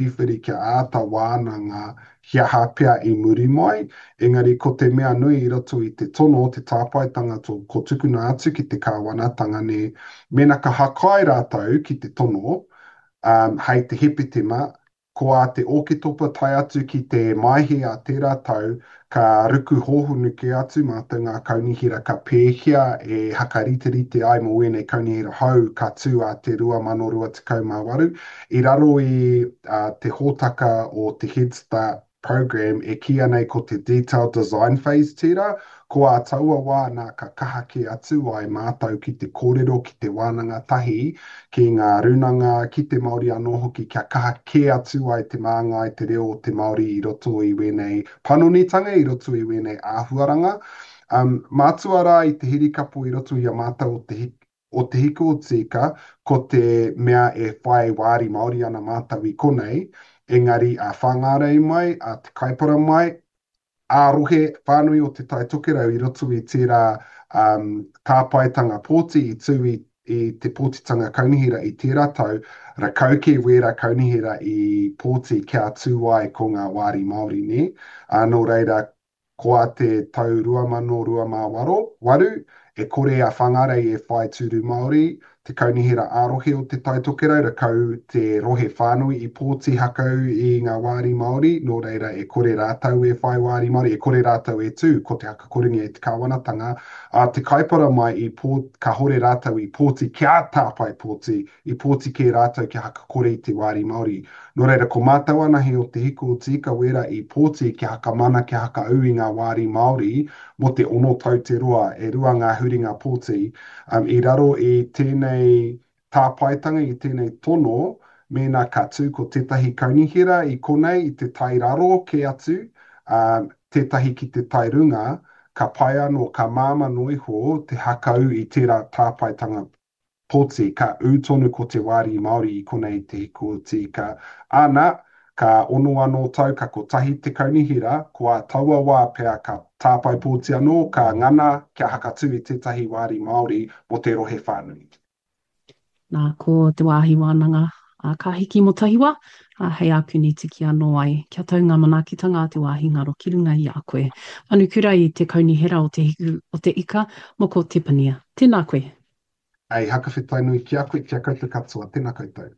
whiriwhiri kia āta wānanga he aha pea i muri mai, engari ko te mea nui i roto i te tono, te tāpaetanga to, ko tukuna atu ki te kāwanatanga nē, mēnā ka hakai rātou ki te tono, um, hei te Hepetema, Ko ā te Ōketopa tae atu ki te Maehe a tērā tau, ka ruku hōhonu kē atu mātou ngā kaunihera ka pēhea e hakariterite ai mō ēnei kaunihera hou ka tū ā te 2028. I raro i te hōtaka o te Head Start Programme e kīia nei ko te Detailed Design Phase tērā, ko ā taua wā nā ka kaha kē atu ai mātou ki te kōrero, ki te wānanga tahi, ki ngā rūnanga, ki te Māori anō hoki kia kaha kē atu ai te māngai, te reo o te Māori i roto i wēnei panonitanga, i roto i wēnei āhuaranga. Um, mātua rā i te hirikapo i roto i a mātou o te o Te Hiku o Tīka, ko te mea e whai wāri Māori ana mātou i konei, engari a Whāngārei mai, a Te Kaipara mai, ā-rohe whānui o Te Tai Tokerau i roto i tērā um, tāpaetanga pōti i tū i, i te pōtitanga kaunihera i tērā tau, rakau kē wērā kaunihera i pōti kia tū ai ko ngā wāri Māori, nē? Ā, nō reira, Ko a te tau 2028, e kore a Whangarei e whai tūru Māori, te Kaunihera ā-Rohe o Te Tai Tokerau, rakau te rohe whānui i pōti hakau i ngā wāri Māori, nō reira e kore rātou e whai wāri Māori, e kore rātou e tū, ko te hakakorengia e te kāwanatanga, a Te Kaipara mai i pō, kahore rātou i pōti kia tāpae pōti, i pōti kē rātou kia hakakore i te wāri Māori. Nō reira, ko mātou anahe o Te Hiku o Te Ika wērā i pōti kia hakamana, kia hakaū i ngā wāri Māori mō te ono tau te roa, e rua ngā huringa pōti. Um, i raro i tēnei tāpaetanga, i tēnei tono, mēnā ka tū ko tētahi kaunihera i konei i te tai raro kē atu, um, tētahi ki te tai runga, ka pai anō, ka māmā noa iho te hakaū i tērā tāpaetanga poti, ka ū tonu ko te wāri Māori i konei te hiku o Tīka. Āna, ka ono anō tau, ka kotahi te kaunihera, ko ā taua wā pea ka tāpae pōti anō, ka ngana kia hakatū i tētahi wāri Māori mō te rohe whānui. Nā, ko te wāhi wānanga a Ka Hiki mō Tahiwa, ā, hei ākuni tiki anō ai, kia tau ngā manaakitanga a te wāhi ngaro ki runga i a koe. Manukura i te Kaunihera o Te Hiku o Te Ika, Moko Tepania. Tēnā koe. Hei hakawhetai nui ki a koe, ki a koutou katoa. Tena koutou.